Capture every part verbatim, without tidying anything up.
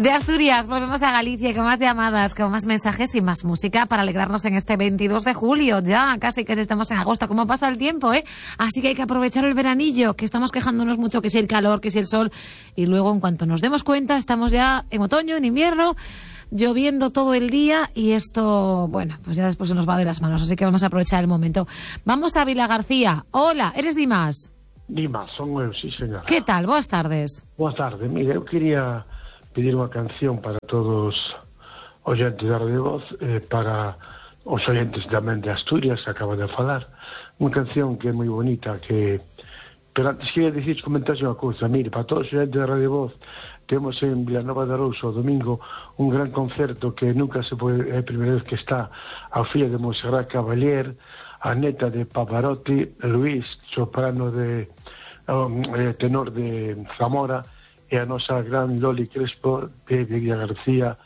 De Asturias volvemos a Galicia con más llamadas, con más mensajes y más música para alegrarnos en este veintidós de julio. Ya casi que estamos en agosto. ¿Cómo pasa el tiempo, eh? Así que hay que aprovechar el veranillo, que estamos quejándonos mucho que si el calor, que si el sol. Y luego, en cuanto nos demos cuenta, estamos ya en otoño, en invierno, lloviendo todo el día y esto, bueno, pues ya después se nos va de las manos. Así que vamos a aprovechar el momento. Vamos a Vila García. Hola, ¿eres Dimas? Dimas, son eu, sí, señora. Que tal? Boas tardes. Boa tarde. Mire, eu quería pedir unha canción para todos os oyentes da Radio Voz, eh, para os oyentes tamén de Asturias, que acaba de falar. Unha canción que é moi bonita, que... Pero antes queria dicir, comentarse unha cousa. Mire, para todos os oyentes da Radio Voz, temos en Vilanova de Arousa o domingo un gran concerto que nunca se pode... É a primeira vez que está a filla de Monserrat Caballero, a neta de Pavarotti, Luís, soprano de... Um, eh, tenor de Zamora, e a nosa gran Loli Crespo de Villa García,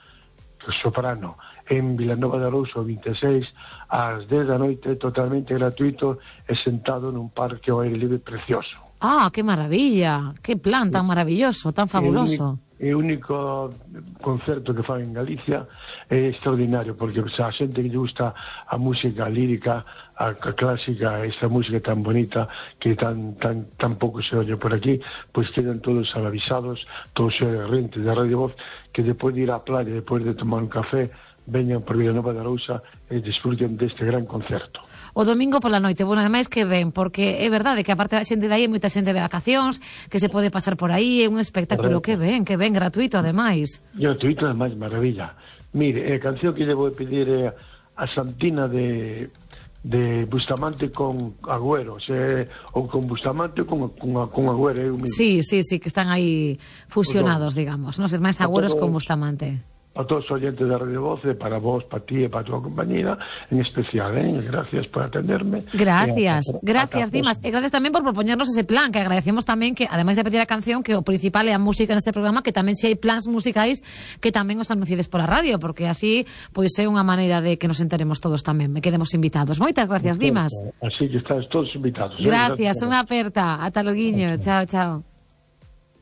soprano, en Vilanova de Arousa, vinte e seis, ás dez da noite, totalmente gratuito e sentado nun parque ao aire libre precioso. Ah, que maravilla, que plan tan maravilloso, tan fabuloso. É o único concerto que fan en Galicia, é extraordinario, porque a xente que lle gusta a música lírica, a clásica, esta música tan bonita que tan tan tan pouco se oye por aquí, pois quedan todos avisados, todos os rentes da Radio Voz, que depois de ir á playa, depois de tomar un café, veñan por Vilanova de Arousa e disfruten deste gran concerto. O domingo pola noite, bueno, ademais que ven, porque é verdade que aparte da xente de aí hai moita xente de vacacións, que se pode pasar por aí, é un espectáculo que ven, que ven, gratuito ademais. Gratuito ademais, maravilla. Mire, a canción que lle vou pedir é a Santina de de Bustamante con Agüero, se, ou con Bustamante ou con, con, con Agüero, eu mismo. Sí, sí, sí, que están aí fusionados, digamos, non ser máis Agüeros con Bustamante. A todos os oyentes da Radio Voz, para vos, para ti e para a tua compañera, en especial, ¿eh? Gracias por atenderme. Gracias, a, a, gracias, a, Dimas. E gracias tamén por propoñernos ese plan, que agradecemos tamén que, ademais de pedir a canción, que o principal é a música neste programa, que tamén se hai plans musicais que tamén os anunciades por a radio, porque así, pois é unha maneira de que nos enteremos todos tamén, me quedemos invitados. Moitas gracias, Dimas. Así que estáis todos invitados. Gracias, ¿eh? Unha aperta. Ata loguiño. Chao, chao.